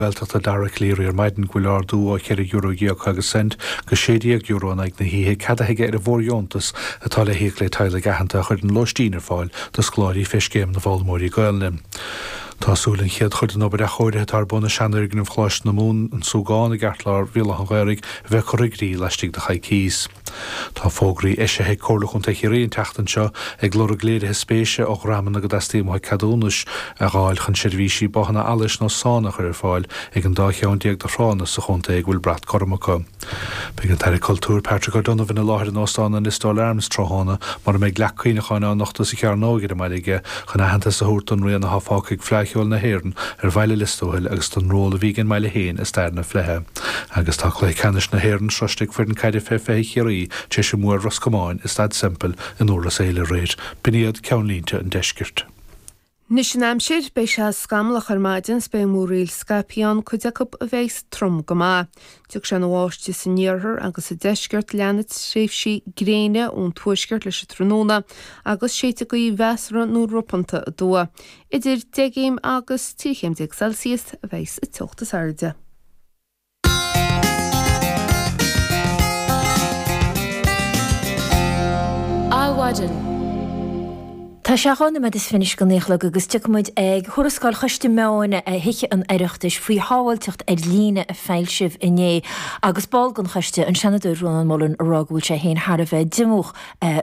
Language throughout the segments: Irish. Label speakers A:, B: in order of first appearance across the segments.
A: Gaeltachta Dara Calleary ar maidin go bhfuil ardú ó €14 agus cent go €16 in aghaidh na hoíche ceadaithe aige ar an bhfóirdheontas atá le híoc le teaghlaigh aitheanta a chuireann lóistín ar fáil do scoláirí fé Scéim na bhFoghlaimeoirí Gaelainne. Tá súil an chéad chuid den obair athchóirithe atá ar bun i seanfhoirgneamh Choláiste na Mumhan, An Súgán, i gceartlár Bhéal Átha an Ghaorthaidh a bheith curtha i gcrích laistigh de choicís. Tá fógraí eisithe ag Comhairle Chontae Chiarraí an tseachtain seo ag lorg léirithe spéise ó dhreamanna go dteastaíonn uathu ceadúnais a dh'fháil chun seirbhísí báthanna allais nó sána a chur ar fáil ag an dá cheann déag de thránna sa chontae ag a bhfuil brat gorm acu. Beidh an tAire Cultúir Patrick O'Donovan i láthair in Óstán an Listowel Arms tráthnóna mar a mbeidh leac cuimhneacháin á nochtadh sa Chearnóg ar an mbaile aige chun aitheantas a thabhairt don rian atá fágtha ag Fleadh Cheoil na hÉireann ar bhaile Lios Tuathail agus don ról a bhí ag an mbaile féin i stair na Fleidhe. Agus tá cluiche ceannais na hÉireann sroiste ag foireann caide fé 20 Chiarraí tar éis a mbua ar Ros Comáin i Staid Semple in Iorras Aille aréir. B'in iad ceannlínte an deiscirt.
B: Anois an aimsir, beidh sé scamallach ar maidin 's beidh múraíl scaipthe ann, cuid acu a bheidhs trom go maith. Tiocfaidh sé ina bháisteach san iarthar agus sa deisceart, leanfaidh tréimhsí gréine ón tuaisceart leis an tráthnóna agus séidfidh gaoth mheasartha nó ropánta aduaidh. Idir 10 gcéim agus 13 chéim Celsius a bheidhs an teocht is airde.
C: Adhmhaidin. Tá sé 2 nóiméad is fiche anois go 9 a chlog agus tiocfaidh muid ag tuarascáil Choiste Meáin Thithe an Oireachtais faoi shábháilteacht ar líne a foilsíodh inné agus ball den choiste, an Seanadóir Rónán Mullen, ag rá go bhfuil sé féin thar a bheith diomúch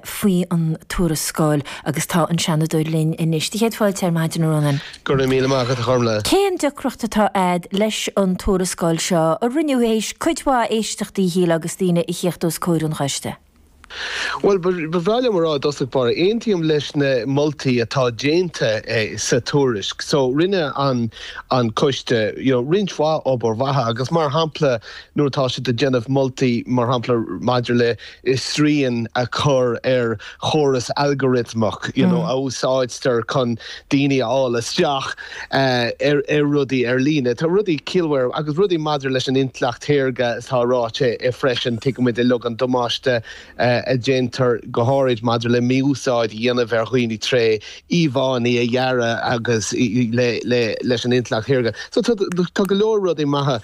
C: faoi an tuarascáil agus tá an Seanadóir linn anois. Do chéad fáilte ar maidin, a Rónáin.
D: Go raibh míle maith agat, a Ghormlaith.
C: Cén deacracht atá a'd leis an tuarascáil seo, a rinneadh théis cuid mhaith éisteachtaí, a shílfeá, agus daoine a thíocht os comhair an choiste?
D: Bhuel, ba bhreá liom a rá i dtosach báire, aontaím leis na moltaí atá déanta sa tuairisc. So, rinne an an coiste, you know, roinnt mhaith obair mhaith agus mar shampla nuair atá siad ag déanamh moltaí, mar shampla maidir le srian a chur ar chóras algoritmeach you know a úsáidtear chun daoine a fháil isteach ar rudaí ar líne. Tá rudaí ciallmhara agus rudaí maidir leis an intleacht shaorga atá ráite freisin. Tuigimid uilig an damáiste a déantar go háirid maidir le mí-úsáid a dhéanamh ar dhaoine tré íomhánna a dhearadh agus leis an intleacht shaorga. So tá go leor rudaí maithe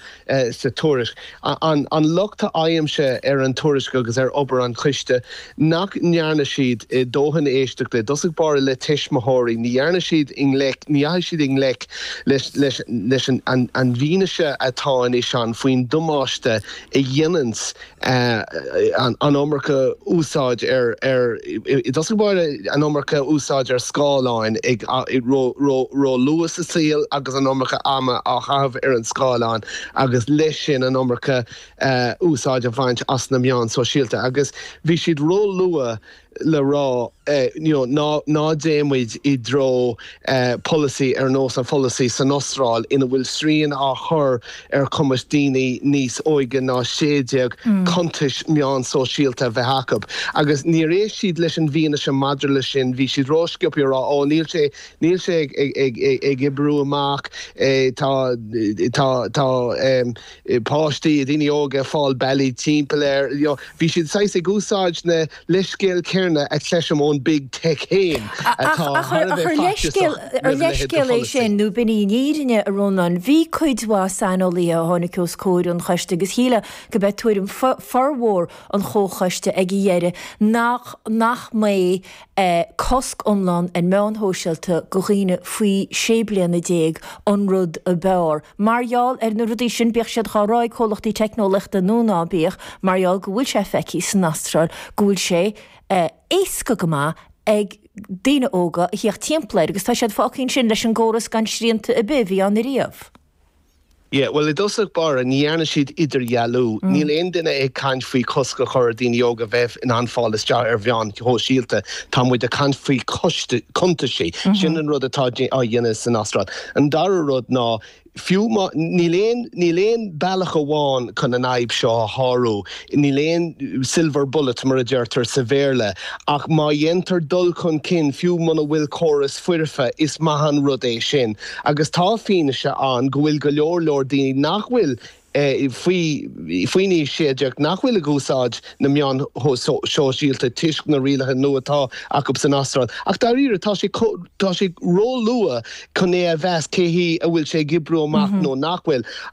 D: sa tuairisc. An locht a fhaighimse ar an tuairisc agus ar obair an choiste nach ndearna siad dóthain éisteachta, i dtosach báire le tuismitheoirí, ní dhearna siad i ngleic, ní dheachaigh siad i ngleic leis leis an bhfianaise atá anois ann faoin damáiste a dhéananns an iomarca úsáid ar, ar, i dtosach báire, an iomarca úsáid ar scáileáin ag ró-luath sa saol agus an iomarca ama á chaitheamh ar an scáileán agus leis sin an iomarca úsáid a bhaint as na meáin sóisialta agus bhí siad ró-luath le rá you know ná ná téann muid i dtreo polasaí ar nós an pholasaí san Astráil ina bhfuil srian á chur ar chumas daoine níos óige ná 16 cuntais meán sóisialta a bheith acu. Agus níor éist siad leis an bhfianaise maidir leis sin, bhí siad rósciobtha ag rá ó níl sé níl sé ag ag ag ag oibriú amach, tá tá tá páistí, daoine óga ag fáil bealaí timpeall air, you know bhí siad saghas ag úsáid na leithscéal céanna a chloisim ón Big Tech féin atá thar a bheith faitíosach
C: Ar
D: roimh a leithéid de
C: leithscéal é
D: pholasaí.
C: sin nó b'in í an fhírinne, a Rónáin? Bhí cuid mhaith saineolaithe a tháinig os comhair an choiste agus shílfeá go b'é tuairim formhór an chomhchoiste ag a dheireadh nach nach mbeadh cosc iomlán ar meáin shóisialta go dhaoine faoi 16 bliana an rud ab fhearr. Mar gheall ar na rudaí sin, bíodh siad dhá rá ag comhlachtaí teicneolaíochta nó ná bíodh, mar gheall go bhfuil sé feicthe san Astráil go bhfuil sé éasca go maith ag daoine óga a thíocht timpeall air agus tá siad fágtha ansin leis an gcóras gan srianta ar bith a bhí ann ariamh.
D: Yeah, bhuel i dtosach báire, ní dhearna siad idirdhealú. Níl aon duine ag caint faoi chosc a chur ar daoine óga bheith in ann fáil isteach ar mheáin shóisialta. Tá muid ag caint faoi cuntaisí. Sin an rud atá á dhéanamh san Astráil. An dara rud ná, fiú má, níl aon, níl aon bealach amháin chun an fhadhb seo a shárú, níl aon silver bullet mar a deirtear sa Bhéarla, ach má dhéantar dul chun cinn, fiú muna bhfuil córas foirfe, is maith an rud é sin. Agus tá fianaise ann go bhfuil go leor leor daoine nach bhfuil. faoi faoin aois 16 nach bhfuil ag úsáid na meáin shóisialta toisc na rialacha nua atá acu san Astráil. Ach dáiríre, tá sé tá sé róluath chun é a mheas cé hí a bhfuil sé ag oibriú amach nó nach bhfuil.